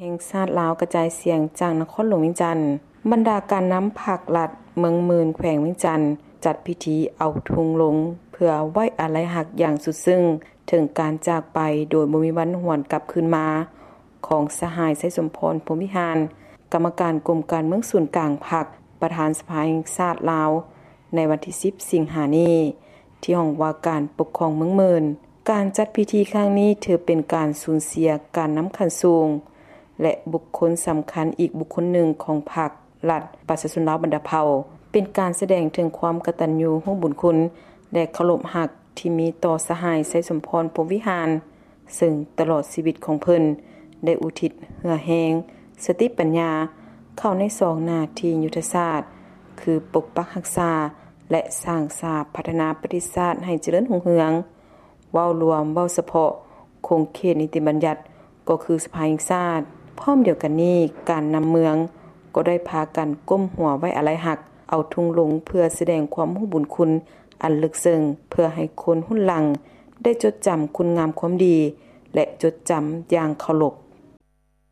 ແຫ່ງຊາດລາວກະຈາຍສຽງຈາກນະຄອນຫຼວງວຽງຈັນ. ບັນດາການນຳພັກລັດເມືອງໝື່ນ ແຂວງວຽງຈັນ ຈັດພິທີເອົາທຸງລົງ ເພື່ອໄວ້ອາໄລຮັກຢ່າງສຸດຊຶ້ງ ເຖິງການຈາກໄປໂດຍບໍ່ມີວັນຫວນກັບຄືນມາ ຂອງສະຫາຍ ໄຊສົມພອນ ພົມວິຫານ ກຳມະການກົມການເມືອງສູນກາງພັກ ປະທານສະພາແຫ່ງຊາດລາວ ໃນວັນທີສິບ ສິງຫານີ້ ທີ່ຫ້ອງວ່າການປົກຄອງເມືອງໝື່ນ. ການຈັດພິທີຄັ້ງນີ້ຖືເປັນການສູນເສຍການນຳຂັ້ນສູງ ແລະ ບຸກຄົນສຳຄັນອີກບຸກຄົນໜຶ່ງຂອງພັກລັດປະຊາຊົນລາວບັນດາເຜົ່າ, ເປັນການສະແດງເຖິງຄວາມກະຕັນຍູຮູ້ບຸນຄຸນ ແລະ ເຄົາລົບຮັກທີ່ມີຕໍ່ສະຫາຍ ໄຊສົມພອນ ພົມວິຫານ ເຊິ່ງຕະຫຼອດຊີວິດຂອງເພິ່ນໄດ້ອຸທິດເຫື່ອແຮງ, ສະຕິປັນຍາ ເຂົ້າໃນສອງໜ້າທີ່ຍຸດທະສາດ ຄືປົກປັກຮັກສາ ແລະ ສ້າງສາພັດທະນາປະເທດຊາດໃຫ້ຈະເລີນຮຸ່ງເຮືອງ. ເວົ້າລວມ, ເວົ້າສະເພາະຂົງເຂດນິຕິບັນຍັດ ກໍຄືສະພາແຫ່ງຊາດ. ພ້ອມດຽວກັນນີ້, ການນຳເມືອງກໍໄດ້ພາກັນກົ້ມຫົວໄວ້ອາໄລຮັກ, ເອົາທຸງລົງເພື່ອສະແດງຄວາມຮູ້ບຸນຄຸນອັນເລິກເຊິ່ງ, ເພື່ອໃຫ້ຄົນຮຸ່ນຫຼັງໄດ້ຈົດຈຳຄຸນງາມຄວາມດີ ແລະ ຈົດຈຳຢ່າງເຄົາລົບ